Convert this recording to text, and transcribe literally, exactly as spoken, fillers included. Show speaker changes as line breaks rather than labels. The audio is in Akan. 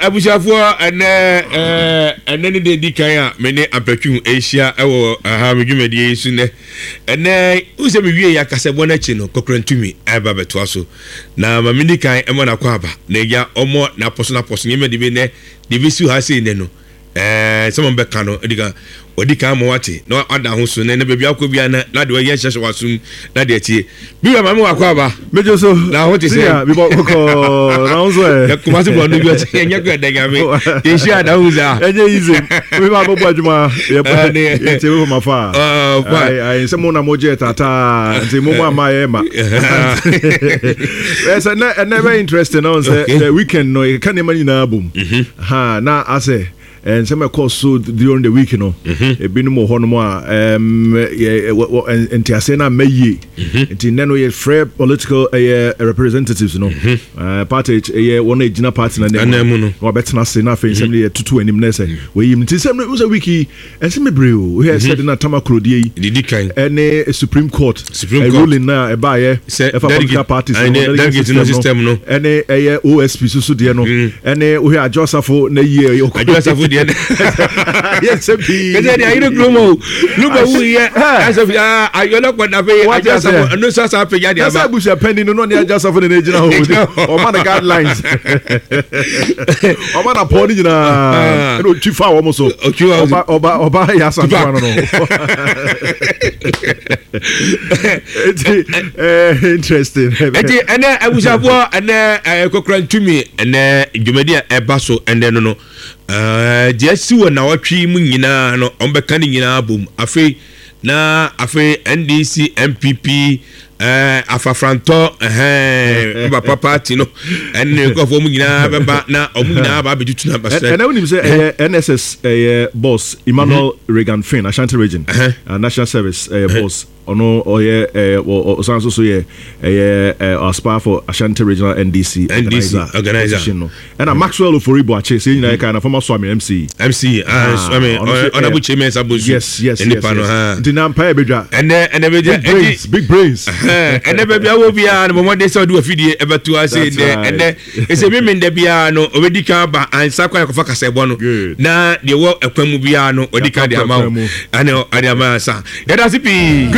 Abusuafoɔ, ɛnɛ ɛɛ ɛnɛ ne de di kan a me ne Ampatwum ahyia ɛwɔ aha me dwumadie yi so. Nɛ ɛnɛ wosɛ mewie yɛ akasɛbɔ no akyi no, Kɔkɔrantumi ɛba bɛtoa so na ma medi kan ɛmɔ n'akɔ aba na agya ɔmmɔ n'apɔso n'apɔso nneɛma de bi nɛ de bi si ha sei. Nɛ no ɛɛ sɛ mo bɛka no, ɛdi kan wɔdi kan ma wate na wada ho so. Nɛ ne baabi akɔ bia na na de wɔyɛ hyehyɛ wasom na deɛ tie bi wura maame wakɔ aba.
Mejo so.
Na ho te sɛ?
Bibɔ kɔkɔɔ na ho so ɛ.
Kumasi bɔ no bi ɔsɛ ɛnyɛ kɔ ɛdɛ Nyame yɛhyia ada ho saa.
Ɛnyɛ easy, mi ma bɔ bɔ adwuma yɛ yɛ tie mi ma fa. Ayi sɛ mo na mo gye tata nti mo mo ama yɛ ma ɛsɛ nɛ ɛnɛ bɛ interesting na sɛ the weekend no yɛ ka nneɛma nyinaa bom ha na asɛ nsɛm ɛkɔ so during the week no, ebinom wɔ hɔnom a nteaseɛ no amma yie. Nti nnɛ no yɛfrɛ political ɛyɛ representatives no, party ɛyɛ wɔn a ɛgyina party no anim no na wɔabɛtena ase na afei nsɛm no yɛtutu anim na sɛ wɔyim. Nti nsɛm no sɛ week yi ɛnsɛm bebree o. Wohwɛ sɛ de na Tamakloe yi
didi kan
ɛne Supreme Court ruling na ɛbaayɛ ɛfa political parties
no, delegate system no,
ɛne ɛyɛ O S P soso deɛ no, ɛne wohwɛ Adwo Asafo na yie.
Adwo Asafo deɛ no
yɛ nsɛm pii.
Kɛsɛ deɛ ayere kurom o luba wu yɛ asafo ayɔlɔkɔ dafe Adwo Asafo ɛno nso asa apagya deɛ
aba. Ɛsɛ abusua panyin no n'ɔne Adwo Asafo na n'egyina hɔ, ɔma no guidelines, ɔma na pɔn ne nyinaa ɛna otwi fa wɔn so, ɔba ɔba ɔba yɛ asantewa no no Eti ɛɛ interesting.
Eti ɛnɛ, abusuafoɔ, ɛnɛ ɛɛ Kɔkɔrɔ Ntumi, ɛnɛ dwumadi a ɛba so ɛnɛ no no ɛɛ deɛ asi wɔ nawɔtwe mu nyinaa no, wɔn bɛka ne nyinaa bom. Afei na afei N D C, N P P, ɛɛ afafrantɔ ɛhɛn papa party no ɛne ne nkurɔfoɔ mu nyinaa bɛba na wɔn nyinaa ba abɛtutu na basɛ.
Ɛnɛ wonim sɛ ɛyɛ N S S ɛyɛ boss Emmanuel Regan Finn, Ashanti Region uh, National Service ɛyɛ boss, ɔno ɔyɛ ɛɛ ɔsan so so yɛ ɛyɛ ɛɛ aspire for Ashanti Regional N D C
N D C organizer
position no, ɛna Maxwell Ofori Boakye sɛ nyinaa yɛ kan na former Suame M C.
M C, Suame Ɔnabu Chairman Sabosu.
yes yes yes yes nti na mpa yɛ bedwa.
ɛnɛ ɛnɛ bɛ
Big brains, big brains.
Ɛnɛ baabi awɔ biara no, bɔmmɔden sɛ ɔde wafidie ɛbɛto ase. Nɛ ɛnɛ ɛsɛ mímí ndɛ biara no, ɔbɛdi kan ba ansa kwan akɔfa kasɛbɔ no na deɛ wɔ ɛkwan mu biara no, ɔdi kan de ama wo, ɛna ɔde ama ansa. Yɛda ase pii.